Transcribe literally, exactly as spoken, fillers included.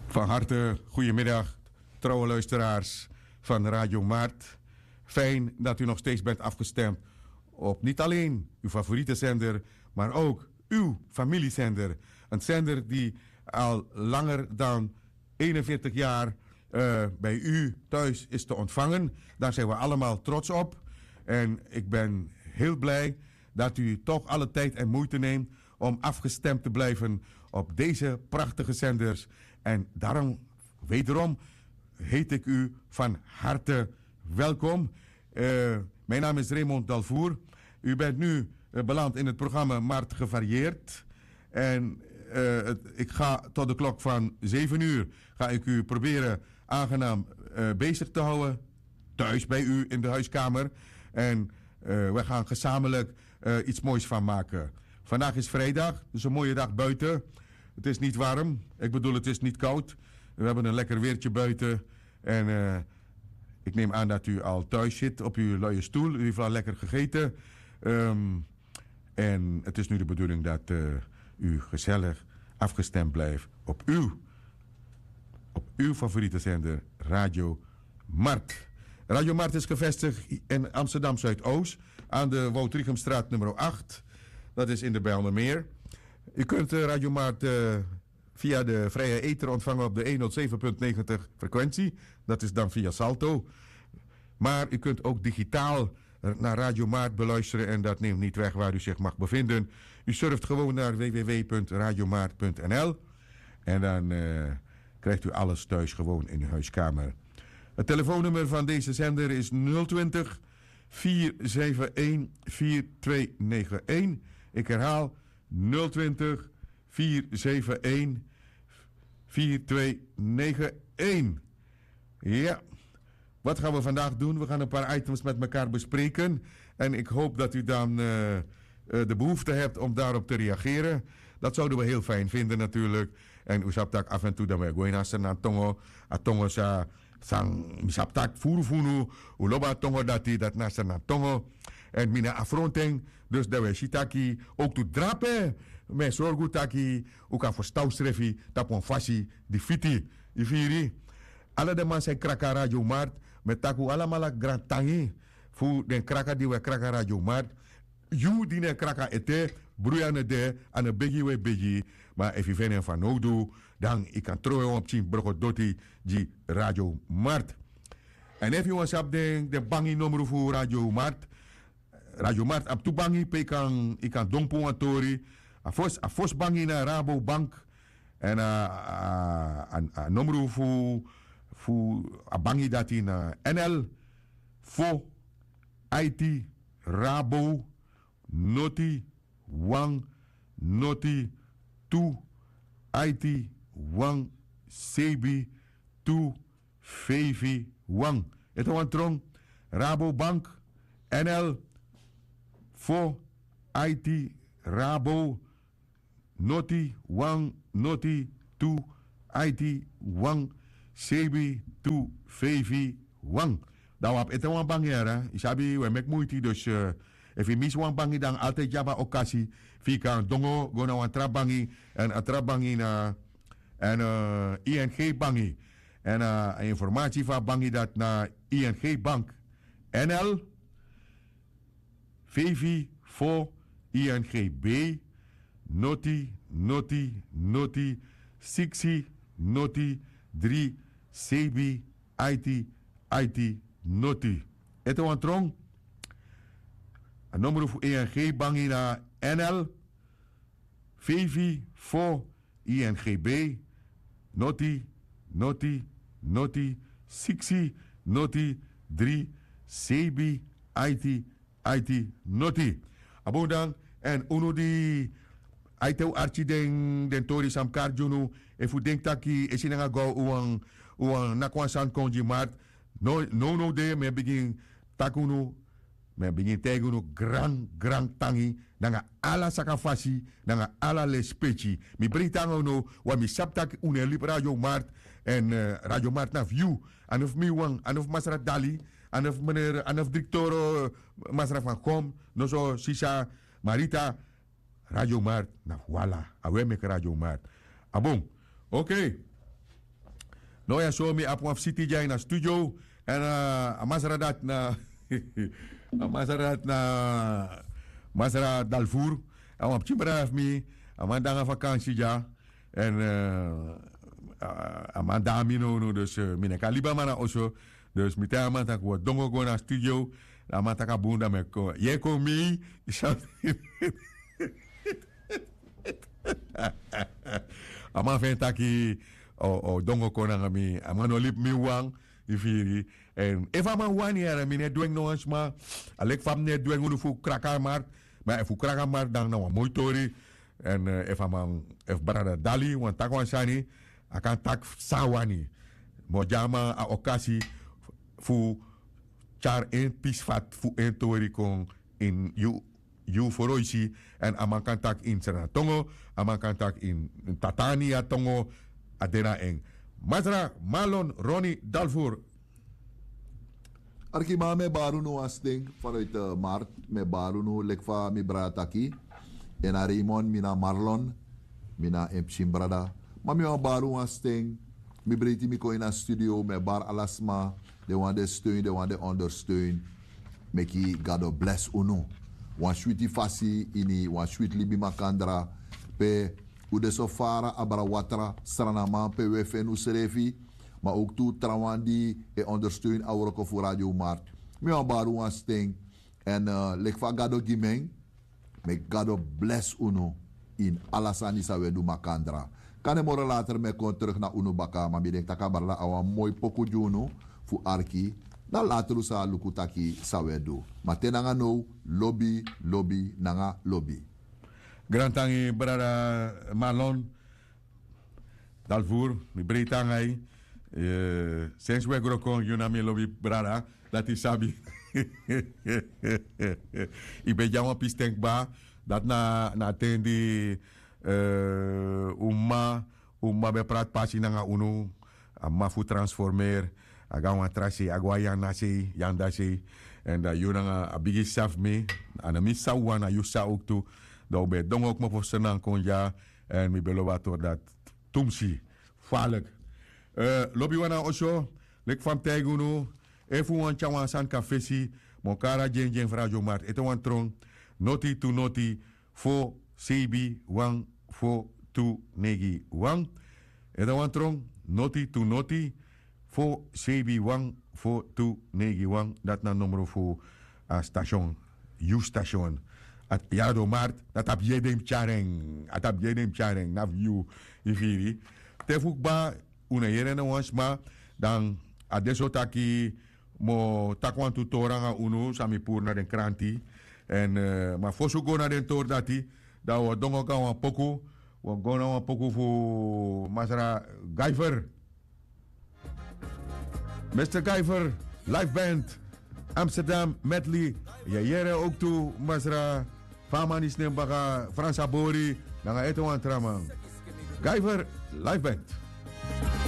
Van harte goedemiddag, trouwe luisteraars van Radio Mart. Fijn dat u nog steeds bent afgestemd op niet alleen uw favoriete zender, maar ook uw familiezender. Een zender die al langer dan eenenveertig jaar eh, bij u thuis is te ontvangen. Daar zijn we allemaal trots op. En ik ben heel blij dat u toch alle tijd en moeite neemt om afgestemd te blijven op deze prachtige zenders. En daarom, wederom, heet ik u van harte welkom. Eh, mijn naam is Raymond Dalvoer. U bent nu eh, beland in het programma Mart Gevarieerd. En eh, het, ik ga tot de klok van zeven uur ga ik u proberen aangenaam eh, bezig te houden. Thuis bij u in de huiskamer. En eh, we gaan gezamenlijk eh, iets moois van maken. Vandaag is vrijdag, dus een mooie dag buiten. Het is niet warm. Ik bedoel, het is niet koud. We hebben een lekker weertje buiten. En eh, ik neem aan dat u al thuis zit op uw luie stoel. U heeft al lekker gegeten. Ehm, en het is nu de bedoeling dat eh, u gezellig afgestemd blijft op uw, op uw favoriete zender, Radio Mart. Radio Mart is gevestigd in Amsterdam Zuidoost aan de Wout Riegumstraat nummer acht. Dat is in de Bijlmermeer. U kunt eh, Radio Mart eh, via de vrije ether ontvangen op de honderdzeven punt negentig frequentie. Dat is dan via Salto. Maar u kunt ook digitaal naar Radio Mart beluisteren en dat neemt niet weg waar u zich mag bevinden. U surft gewoon naar w w w punt radiomaart punt n l en dan eh, krijgt u alles thuis gewoon in uw huiskamer. Het telefoonnummer van deze zender is nul twintig, vier zeven een, vier twee negen een. Ik herhaal, nul twintig, vier zeven een, vier twee negen een. Ja, wat gaan we vandaag doen? We gaan een paar items met elkaar bespreken. En ik hoop dat u dan eh, eh, de behoefte hebt om daarop te reageren. Dat zouden we heel fijn vinden natuurlijk. En u sabi taki af en toe dan we go in a Sranan tongo, a tongo sa san mi sabi taki furu fu unu, un lobi a tongo dati, dati na Sranan tongo. Èn mi na afronten, dus dan we si taki, ook tu drape, mi e sorgu taki un kan ferstan usrefi tapu wan fasi di fiti. Yu firi? Ala den man san e kraka Radio Mart, mi e taki un alamala grantangi fu den kraka di un e kraka Radio Mart. Yu di no e kraka ete, bruya no de, a no begi yu e begi. Ma efu yu feni en fanowdu, dan yu kan trowe wan pikin broko doti gi Radio Mart. Èn efu yu wani sabi den, den bangi nomru fu Radio Mart, Radio Mart abi tu bangi pe yu kan, yu kan don puru wan tori. A fosi, a fosi bangi na Rabobank. Èn a, a, a nomru fu, fu a bangi dati na N L fo aiti Rabo noti wan noti tu aiti wan sebi tu feifi wan. Ete wan tron, Rabobank, N L fo aiti Rabo noti wan noti tu aiti wan sebi tu feifi wan. Dan wi abi ete wan bangi yara, yu sabi wi e meki muiti, dus eh, efu yu misi wan bangi dan altijd yu abi a okasi fu yu kan dongo go na wan tra bangi. Èn a tra bangi na èn eh, I N G bangi. Èn eh, a informasi fu a bangi dati na I N G Bank, N L feifi fo I N G B noti noti noti siksi noti dri sebi aiti aiti noti. Ete wan tron, a nomru fu I N G bangi na N L feifi fo I N G B noti noti noti siksi noti dri sebi aiti aiti noti. A bun dan, èn unu di aiti un arki den, den tori san mi kari gi unu, efu un denki taki e si nanga go un wani, un wani naki wan sani kon gi Mart, no, nownow de mi e bigin taki unu, mi e bigin taigi unu gran gran tangi nanga ala saka fasi, nanga ala lespeki. Mi breiti nanga unu, wan mi sabi taki unu e libi Radio Mart. Èn eh, Radio Mart na fu yu. A no fu mi wan, a no fu masra Dali, a no fu meneer, a no fu direkteur eh, masra Van Gom, noso sisa Marita. Radio Mart na fu wi ala. A wi e meki Radio Mart. A bun. Oké. No ya so mi abi wan fisiti dya ini a studio. Èn a masra dati na a masra dati na masra dalfur. A wan pikin brada fu mi. A man de nanga fakansi dya. Èn a man de na mi nownow dus mi no e kan libi a man na oso. Dus mi taigi a man tak' wi o dongo go na studio. A man taki a bun dan mi e kon yu e kon mei. A man feni taki o dongo kon nanga mi. A man no libi mi wawan. Yu firi? Èn efu a man wani yara mi no e dwengi no wan sma. A leki fa mi no e dwengi unu fu kraka a mark. Ma efu kraka a mark dan na wan moi tori. Èn efu a man efu brada dali wani taki wan sani, a kan taki san a wani. Mi o gi a man a okasi fu tyari en pisi fati fu en tori kon ini yu yu foroisi. Èn a man kan taki ini sranatongo, a man kan taki ini tatania tongo. A de na en. Masra malon roni dalfur. Arkiman mi e bari unu wan sten fanuiti mart. Mi e bari unu leki fa mi brada taki. En na raymond mi na marlon. Mi na en pikin brada. Ma mi wani bari unu wan sten. Mi breiti mi kon ini a studio mi e bari ala sma. Den wan den steun den wan den ondersteun. Meki gado blesi unu wan switi fasi ini wan switi libi makandra. Pe un de so fara abra watra sranaman pe un e feni unsrefi. Ma owktu trawan di e ondersteun a wroko fu radio mark. Mi wani bari unu wan sten. Èn leki fa gado gi mi en. Meki gado blesi unu ini ala sani san un e du makandra. Kande moro later mi e kon teruk na unu baka ma mi denki tak' a brada abi wan moi poku gi unu fu arki. Dan later un sa luku taki san un e du. Ma te nanga now lobi lobi nanga lobi. Grantangi brada malon. Dalfur mi breiti nanga yu. Sensi un e gro kon yu na mi lobi brada. Dati yu sabi. Yu ben dya wan pisten kba. Dati na a ten di un mama un mama ben prati pasi nanga unu. A mama fu transformeri a go na wan tra sei a go na yu anda sei yu anda sei. Èn dan yu nanga a bigi sisa fu mi. A no mi sisa wawan na yu sisa owktu. Dan un ben e dongo kmopo fu sranankondya. Èn mi ben lobi a tori dati tumsi. Faliki. Lobi wan na oso. Leki fa mi taigi unu efu un wani tyari wan sani kon na fesi, mi o kari a gi en gi en fu radio mark ete wan tron. Noti tu noti fo seibi wan fo tu neigi wan. Ete wan tron. Noti tu noti fo seibi wan fo tu neigi wan. Dati na nomro fu a station. Yu station. Yara don mark. Dati abi yede yu mus tyari en. A tabi yede yu mus tyari en na fu yu. Yu firi? Te fu kba un no yere na wan sma. Dan a de so taki mi o taki wantu tori nanga unu san mi puru na den kranti. Èn ma fosi un go na den tori dati, dan un o dongo go na wan poku. Un o go na wan poku fu masra gaifer. Mister Guyver, live band, Amsterdam Medley. Yeyere ook tu masra. Famani snem baka Fransa Bori nanga ete wan traman. Guyver, live band.